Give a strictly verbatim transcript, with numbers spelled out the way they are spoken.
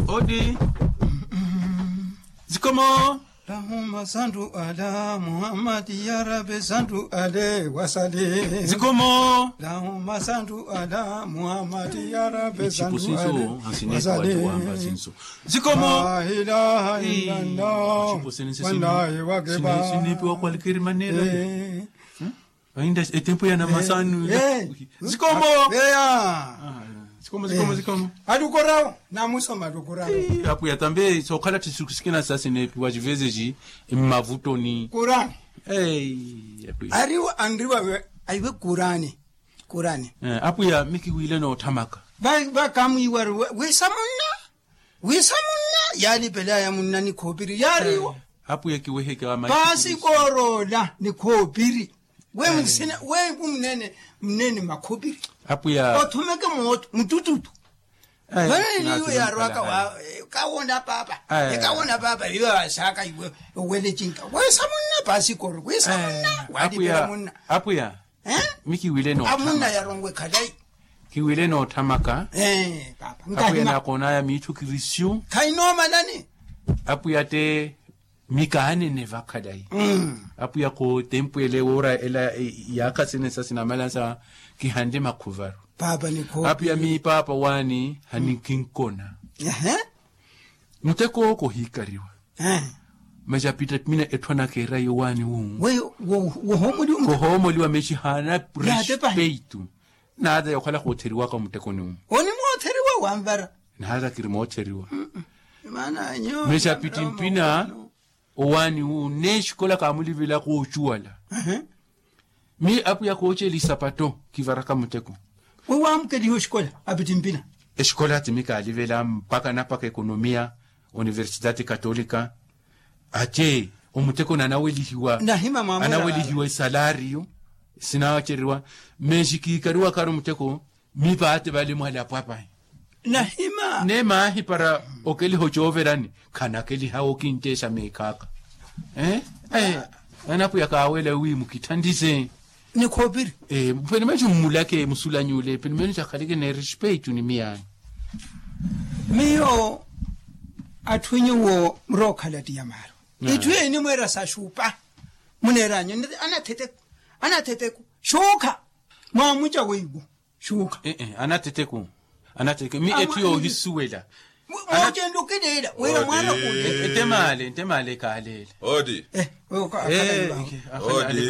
Odi. Zikomo. Lahuma santu ala muhammadi ya rabi santu ale wasali. Zikomo. Lahuma santu ala muhammadi ya rabi santu ale wasali. Zikomo. Lahilaha illallah. Wallahi wakiba. Sinipiwa kwalkiri manera. Ainda etempu ya namasanu. Zikomo. Zikomo zikomo zikomo. Atukorawo namusoma atukorawo. Apuya tambe sokhala tisukusikina sasi nepiwa civezeji. Mmavutoni kurani. Ariwo anriwa aiwe kurani. Kurani. Apuya mikiwile noothamaka. Vakamwiwari wisa munna. Wisa munna yaalipelaya munna ni khoopiri yaariwo. Apuya kiweheke paasi kooroola ni khoopiri. We msina we ku mnene mnene makhopiri. Apuya othumeke mooto mutututu. Vale niyo yaarwaka wa kawoona paapa. Ekawoona paapa iyo yasaaka iwe. Owele cinka wisa munna paasi kooro wisa munna waalipela munna. Apuya mikiwile no amunna yaronwe khalayi. Kiwile noothamaka. Apuya nakoonaya miitthu kirisyu. Khainoomalani. Apuya te mikaanene vakhalayi. Apuya kootempu ele woora ela yaakha sene sa sinamala sa kihanle makhuvaru. Apuya miipaapa waani hanikinkona. Muteko owo kohiikariwa. Masi apita mina etthu anakeera yowaani wu. Kohoomoliwa masi haana respeitu. Naata yookhala khootheriwaka muttekoni wu. Onimootheriwa wanvara. Naata kiri mootheriwa. Masi apiti mpina owaani wu neexikola kaamulivelaka ocuwala. Mi apuya kooceela isapato kivaraka muteko. Wewamukeliha oxikola apittimpina. Exikola ati mikaalivela mpakha napakha ekonomiya. Universidade katolika. Ate omutekoni anawelihiwa. Nahima mwamwela anawelihiwa esalario. Sinawaceriwa. Mexi kiikariwakari omuteko. Mipaate vale mwale apwapahi. Nahima ne maahi para okeliha ocooverani. Khanakeliha okinteexa meekhaaka. Anapuya kaawela wi mukithandize. Ni khoopiri. Penimeexi mmulake musulanyule penimeexi akhaleke ne respeitu ni miyaani. Miyo atthu nyuwo murookhala ttiyamaaru. Itthu enimweera sa xupa. Muneeranyu anatheteku anatheteku xuukha. Mwaamuca weiwo. Xuukha. Anatheteku. Anatheteku mi etthu yoohisuwela. Moocento kileela wira mwaana kuuleela. Ntemaale ntemaale kaaleela. Odi. Odi.